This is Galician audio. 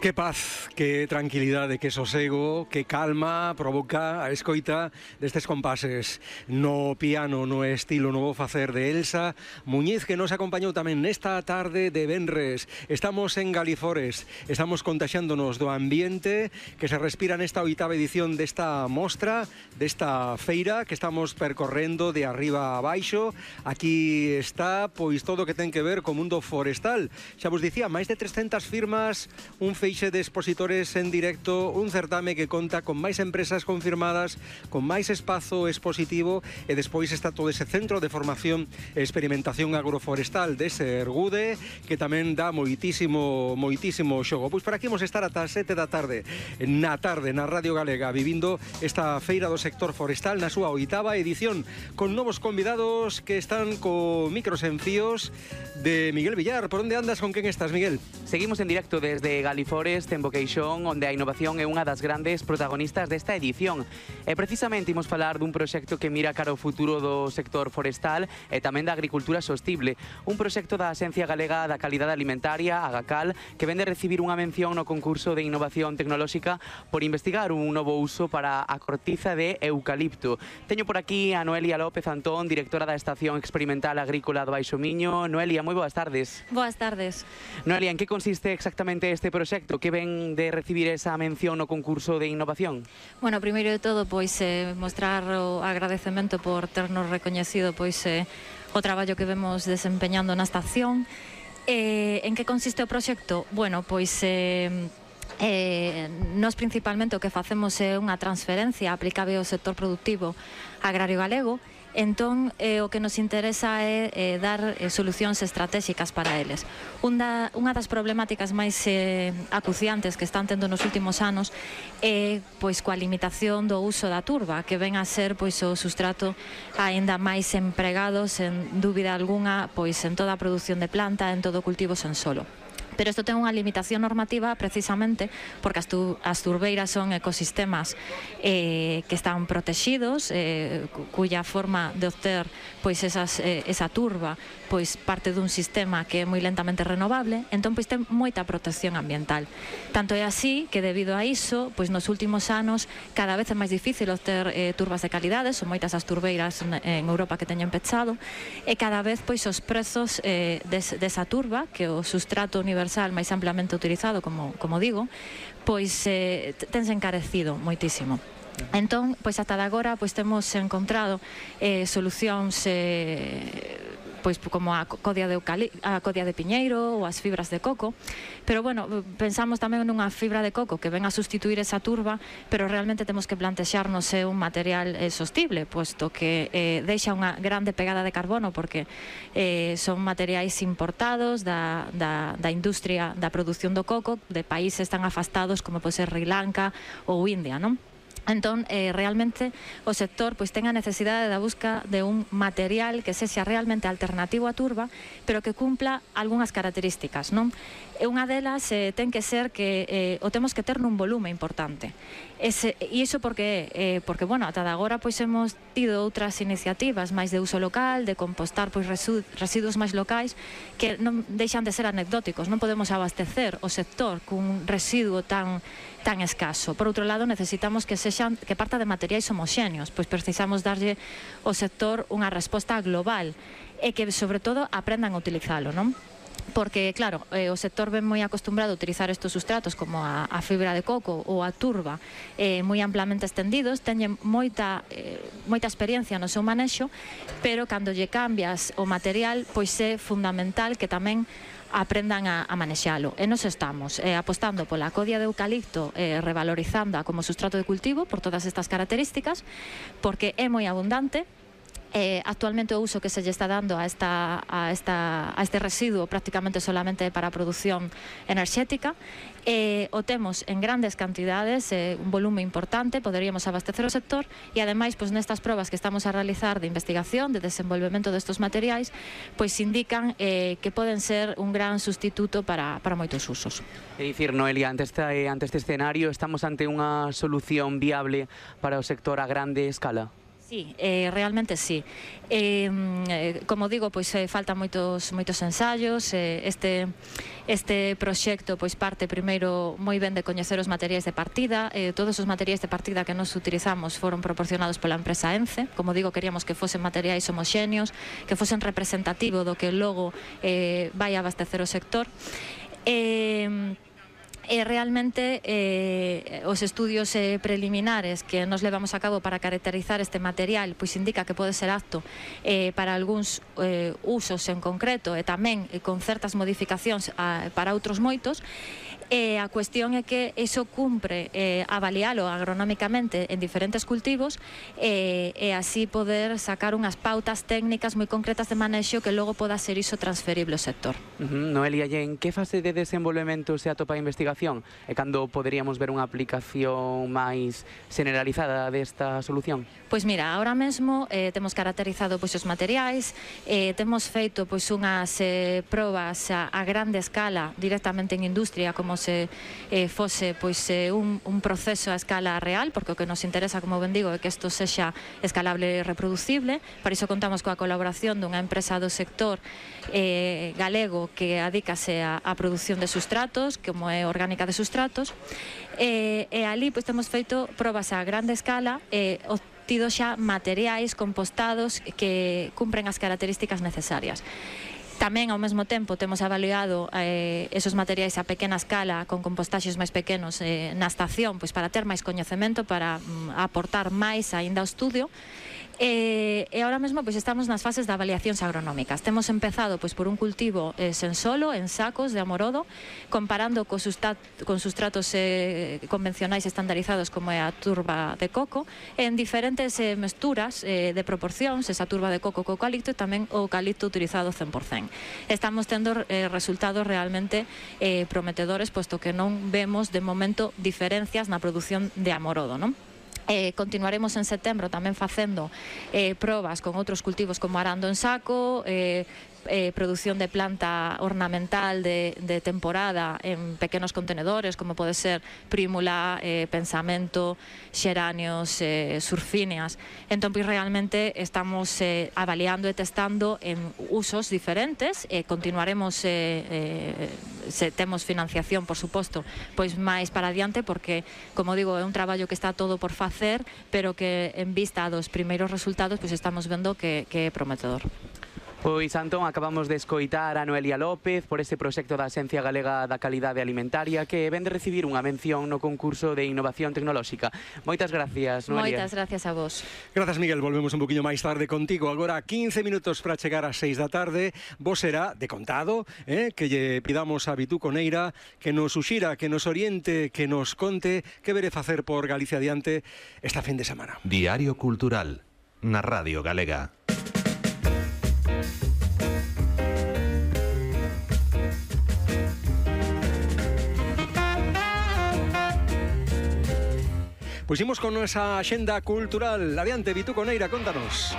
Que paz, que tranquilidade, que sosego, que calma provoca a escoita destes compases no piano, no estilo novo facer de Elsa Muñiz, que nos acompañou tamén nesta tarde de venres. Estamos en Galifores, estamos contaxándonos do ambiente que se respira nesta oitava edición desta mostra, desta feira que estamos percorrendo de arriba a baixo. Aquí está, pois, todo o que ten que ver co mundo forestal. Xa vos dicía, máis de 300 firmas, un feixe de expositores en directo, un certame que conta con máis empresas confirmadas, con máis espazo expositivo, e despois está todo ese centro de formación e experimentación agroforestal de Sergude, que tamén dá moitísimo xogo. Pois por aquí vamos estar ata as 7 da tarde, na Radio Galega, vivindo esta feira do sector forestal na súa oitava edición, con novos convidados que están co micros en fíos de Miguel Villar. Por onde andas, con quen estás, Miguel? Seguimos en directo desde Galifores, en Boqueixón, onde a innovación é unha das grandes protagonistas desta edición. E precisamente imos falar dun proxecto que mira cara ao futuro do sector forestal e tamén da agricultura sostible. Un proxecto da Axencia Galega da Calidade Alimentaria, Agacal, que vende recibir unha mención no concurso de innovación tecnolóxica por investigar un novo uso para a cortiza de eucalipto. Teño por aquí a Noelia López Antón, directora da Estación Experimental Agrícola do Baixo Miño. Noelia, moi boas tardes. Boas tardes. Noelia, en que consiste exactamente este proxecto? Que ven de recibir esa mención no concurso de innovación? Bueno, primeiro de todo, pois mostrar o agradecemento por ternos recoñecido o traballo que vemos desempeñando na estación. En que consiste o proxecto? Bueno, pois nós principalmente o que facemos é unha transferencia aplicable ao sector productivo agrario galego. Entón, o que nos interesa é dar solucións estratégicas para eles. Unha das problemáticas máis acuciantes que están tendo nos últimos anos é pois coa limitación do uso da turba, que ven a ser pois o sustrato aínda máis empregado, sen dúbida algunha, pois en toda a produción de planta, en todo o cultivo sen solo. Pero isto ten unha limitación normativa precisamente porque as turbeiras son ecosistemas que están protegidos, cuya forma de obter pois esa turba pois parte dun sistema que é moi lentamente renovable, entón pois ten moita protección ambiental. Tanto é así que debido a iso, pois nos últimos anos cada vez é máis difícil obter turbas de calidade, son moitas as turbeiras en Europa que teñen pechado, e cada vez pois os prezos desa turba, que o sustrato universal máis amplamente utilizado, como digo, pois tense encarecido moitísimo. Entón, pois ata de agora pois temos encontrado solucións pois como a codia de piñeiro ou as fibras de coco, pero bueno, pensamos tamén nunha fibra de coco que ven a sustituir esa turba, pero realmente temos que plantexarnos un material sostible, posto que deixa unha grande pegada de carbono, porque son materiais importados da industria da produción do coco de países tan afastados como pode ser Sri Lanka ou India, non? Entón, realmente o sector pois ten a necesidade da busca de un material que sexa realmente alternativo á turba, pero que cumpla algunhas características, non? E unha delas ten que ser que o temos que ter nun volume importante. E iso porque, bueno, ata de agora pois hemos tido outras iniciativas máis de uso local, de compostar pois residuos máis locais, que non deixan de ser anecdóticos. Non podemos abastecer o sector cun residuo tan escaso. Por outro lado, necesitamos que parta de materiais homoxéneos, pois precisamos darlle ao sector unha resposta global e que, sobre todo, aprendan a utilizalo, non? Porque, claro, o sector ven moi acostumbrado a utilizar estes sustratos como a fibra de coco ou a turba moi amplamente estendidos, teñen moita experiencia no seu manexo, pero cando lle cambias o material, pois é fundamental que tamén aprendan a manexalo. E nos estamos apostando pola codia de eucalipto, revalorizándoa como sustrato de cultivo por todas estas características, porque é moi abundante. Actualmente o uso que se lle está dando a este residuo prácticamente solamente para a produción enerxética. O temos en grandes cantidades, un volume importante, poderíamos abastecer o sector, e ademais pois nestas probas que estamos a realizar de investigación, de desenvolvemento destes materiais, pois indican que poden ser un gran sustituto para moitos usos. É dicir, Noelia, ante este escenario estamos ante unha solución viable para o sector a grande escala? Sí, realmente sí. Como digo, pois faltan moitos ensaios. Este proxecto pois parte primeiro moi ben de coñecer os materiais de partida. Todos os materiais de partida que nos utilizamos foron proporcionados pola empresa ENCE. Como digo, queríamos que fosen materiais homoxéneos, que fosen representativo do que logo vai abastecer o sector. Realmente os estudios preliminares que nos levamos a cabo para caracterizar este material pois indica que pode ser apto para algúns usos en concreto e tamén con certas modificacións para outros moitos. A cuestión é que iso cumpre avalialo agronómicamente en diferentes cultivos e así poder sacar unhas pautas técnicas moi concretas de manexo que logo poda ser iso transferible ao sector. Noelia, e en que fase de desenvolvemento se atopa a investigación? E cando poderíamos ver unha aplicación máis generalizada desta solución? Pois mira, ahora mesmo temos caracterizado pois os materiais, temos feito pois unhas probas a grande escala directamente en industria, como se fose pois un proceso a escala real, porque o que nos interesa, como ben digo, é que isto sexa escalable e reproducible. Para iso contamos coa colaboración dunha empresa do sector galego que adícase á produción de sustratos, como é Orgánica de Sustratos, e ali pois temos feito probas a grande escala obtido xa materiais compostados que cumpren as características necesarias. Tamén, ao mesmo tempo, temos avaliado esos materiais a pequena escala con compostaxes máis pequenos na estación, pois para ter máis coñecemento, para aportar máis aínda ao estudio. E ahora mesmo pois estamos nas fases de avaliacións agronómicas. Temos empezado pois por un cultivo sen solo, en sacos de amorodo, comparando con sustratos convencionais estandarizados como é a turba de coco, en diferentes mesturas de proporcións, esa turba de coco co eucalipto e tamén o eucalipto utilizado 100%. Estamos tendo resultados realmente prometedores, posto que non vemos de momento diferencias na produción de amorodo, non? Continuaremos en setembro tamén facendo probas con outros cultivos como arando en saco, produción de planta ornamental de temporada en pequenos contenedores, como pode ser prímula, pensamento, xeráneos, surfíneas. Entón, pois realmente estamos avaliando e testando en usos diferentes. Continuaremos, se temos financiación, por suposto, pois máis para adiante, porque, como digo, é un traballo que está todo por facer, pero que en vista dos primeiros resultados, pois estamos vendo que é prometedor. Pois, Antón, acabamos de escoitar a Noelia López por ese proxecto da Axencia Galega da Calidade Alimentaria que ven de recibir unha mención no concurso de innovación tecnolóxica. Moitas gracias, Noelia. Moitas gracias a vos. Grazas, Miguel. Volvemos un poquinho máis tarde contigo. Agora 15 minutos para chegar ás 6 da tarde. Vos será de contado que lle pidamos a Vitú Coneira que nos suxira, que nos oriente, que nos conte que vere facer por Galicia adiante esta fin de semana. Diario Cultural na Radio Galega. Pois imos con esa axenda cultural. Adiante, Vitú Coneira, contanos.